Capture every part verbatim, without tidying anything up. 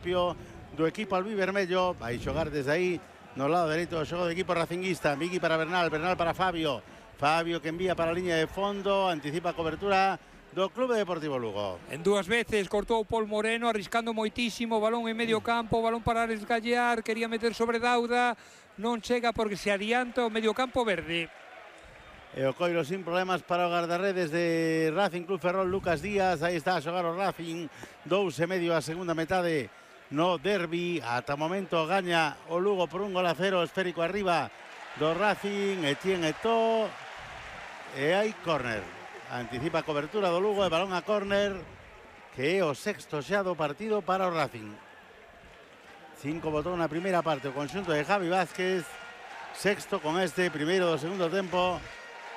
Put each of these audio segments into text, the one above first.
do equipo albivermello. Vai xogar desde aí no lado dereito do xogo do equipo racinguista. Migui para Bernal, Bernal para Fabio. Fabio que envía para a liña de fondo, anticipa a cobertura do Clube Deportivo Lugo. En dúas veces cortou Pol Moreno, arriscando moitísimo, balón en medio campo, balón para Esgallar, quería meter sobre Dauda, non chega porque se adianta o medio campo verde. E o coiro sin problemas para o guardarredes de Racing Club Ferrol, Lucas Díaz. Aí está a xogar o Racing, dous e medio a segunda metade no derbi. Ata o momento gaña o Lugo por un gol a cero, esférico arriba do Racing, Etienne Eto'o. E hai córner. Anticipa a cobertura do Lugo e balón a córner, que é o sexto xa do partido para o Racing. Cinco botou na primeira parte o conxunto de Javi Vázquez, sexto con este primeiro do segundo tempo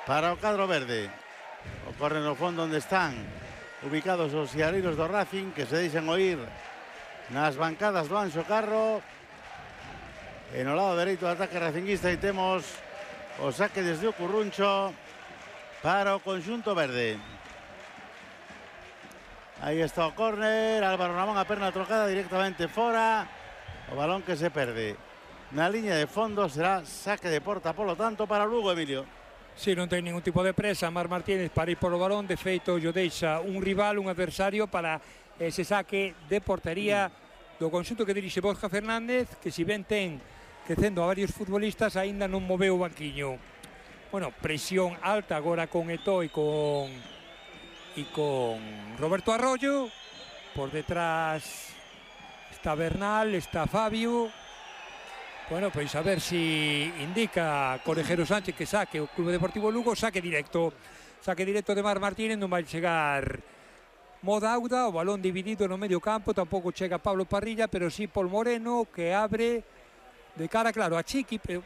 para o cadro verde. O córner no fondo onde están ubicados os siareiros do Racing, que se deixan oír nas bancadas do Anxo Carro. E no lado dereito do ataque racinguista e temos o saque desde o Curruncho para o conxunto verde. Aí está o córner, Álvaro Ramón a perna trocada directamente fora. O balón que se perde na liña de fondo, será saque de porta, polo tanto, para o Lugo, Emilio. Si, non ten ningún tipo de presa Mar Martínez para ir polo balón. De feito, yo deixa un rival, un adversario para ese saque de portería do conxunto que dirixe Borja Fernández, que si ben ten crecendo a varios futbolistas, aínda non moveu o banquiño. Bueno, presión alta agora con Eto'o e con e con Roberto Arroyo. Por detrás está Bernal, está Fabio. Bueno, pois a ver si indica Corejero Sánchez que saque o Clube Deportivo Lugo, saque directo. Saque directo de Mar Martínez, non vai chegar Modauda, o balón dividido no medio campo, tampouco chega Pablo Parrilla, pero sí Pol Moreno, que abre de cara, claro, a Chiqui. Pero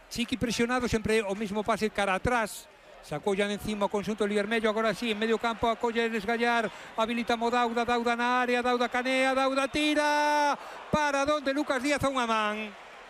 Chiqui presionado, sempre o mismo pase cara atrás. Sacou ya encima o conxunto Vermello, agora sí, en medio campo, acolle Esgallar, habilita Modauda, Dauda na área, Dauda canea, Dauda tira, para donde Lucas Díaz a unha man.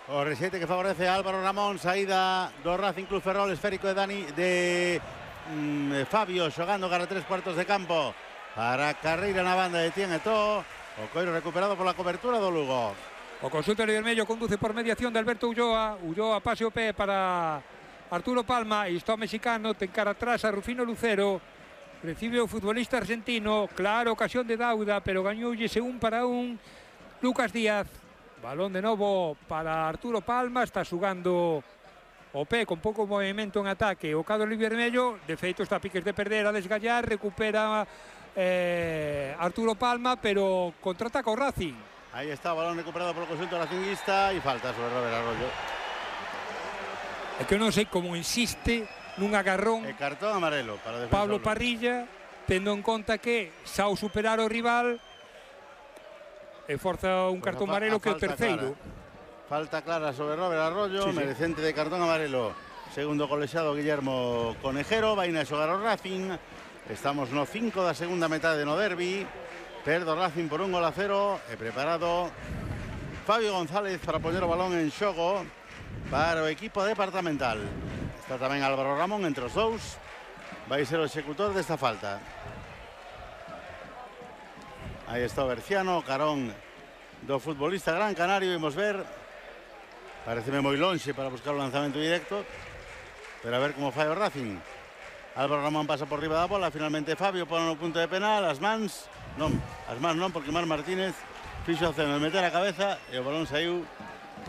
O resete que favorece a Álvaro Ramón, saída do Racing Club Ferrol, esférico de Dani, de mm, Fabio, xogando cara tres cuartos de campo, para carreira na banda de Etienne Eto'o, o coiro recuperado pola cobertura do Lugo. O conxunto Vermello conduce por mediación de Alberto Ulloa, Ulloa pase o pé para Arturo Palma, e está o mexicano, ten cara atrás a Rufino Lucero, recibe o futbolista argentino, claro, ocasión de Dauda, pero gañoullese un para un Lucas Díaz. Balón de novo para Arturo Palma, está xugando o pé con pouco movimento en ataque o cadro Vermello, de feito está a piques de perder a Desgallar, recupera eh, Arturo Palma, pero contraataca o Racing. Aí está o balón recuperado polo conxunto racinguista e falta sobre Robert Arroyo. É que eu non sei como insiste nun agarrón e cartón amarelo para Pablo Parrilla, tendo en conta que xa o superar o rival e forza un cartón amarelo que é o terceiro. Clara. Falta clara sobre Robert Arroyo, sí, sí. Merecente de cartón amarelo. Segundo colexado Guillermo Conejero, vai na xogar o Racing. Estamos no cinco da segunda metade no derbi. Perdo Racing por un gol a cero e preparado Fabio González para poñer o balón en xogo para o equipo departamental. Está tamén Álvaro Ramón entre os dous. Vai ser o executor desta falta. Aí está o Berciano, carón do futbolista gran canario. Vimos ver, pareceme moi lonxe para buscar o lanzamento directo, pero a ver como fai o Racing. Álvaro Ramón pasa por riba da bola, finalmente Fabio pone no punto de penal, as mans non, as mans non, porque Mar Martínez fixo a ceno de meter a cabeza e o balón saiu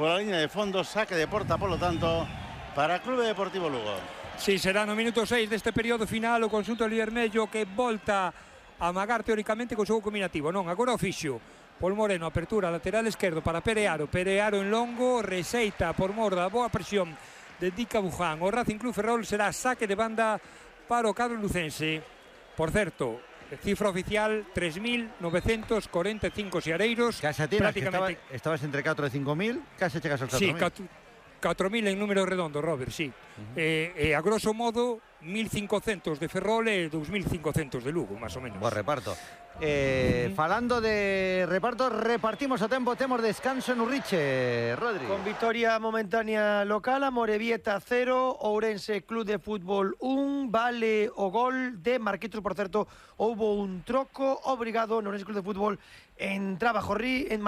pola liña de fondo, saque de porta, polo tanto, para Clube Deportivo Lugo. Si, sí, será no minuto seis deste período final o conxunto Vermello que volta a amagar teóricamente co xogo combinativo. Non, agora o fixo Pol Moreno, apertura lateral esquerdo para Perearo, Perearo en longo, receita por mor da boa presión de Dica Buján. O Racing Club Ferrol será saque de banda para o cadro lucense. Por certo, cifra oficial tres mil novecientos corenta e cinco xareiros. Casa tiras, estaba, estabas entre catro e cinco mil, case chegas aos catro mil. Sí, catro mil en número redondo, Robert, sí. Uh -huh. eh, eh, a grosso modo, mil cincuenta de Ferrol e dos mil cincuenta de Lugo, máis ou menos. Bo reparto. Eh, uh -huh. Falando de reparto, repartimos a tempo, temos descanso en Urriche, Rodri. Con victoria momentánea local, Amorebieta cero, Ourense Club de Fútbol un, vale o gol de Marquitos, por certo, houbo un troco obrigado no Ourense Club de Fútbol en Trabajorrí, en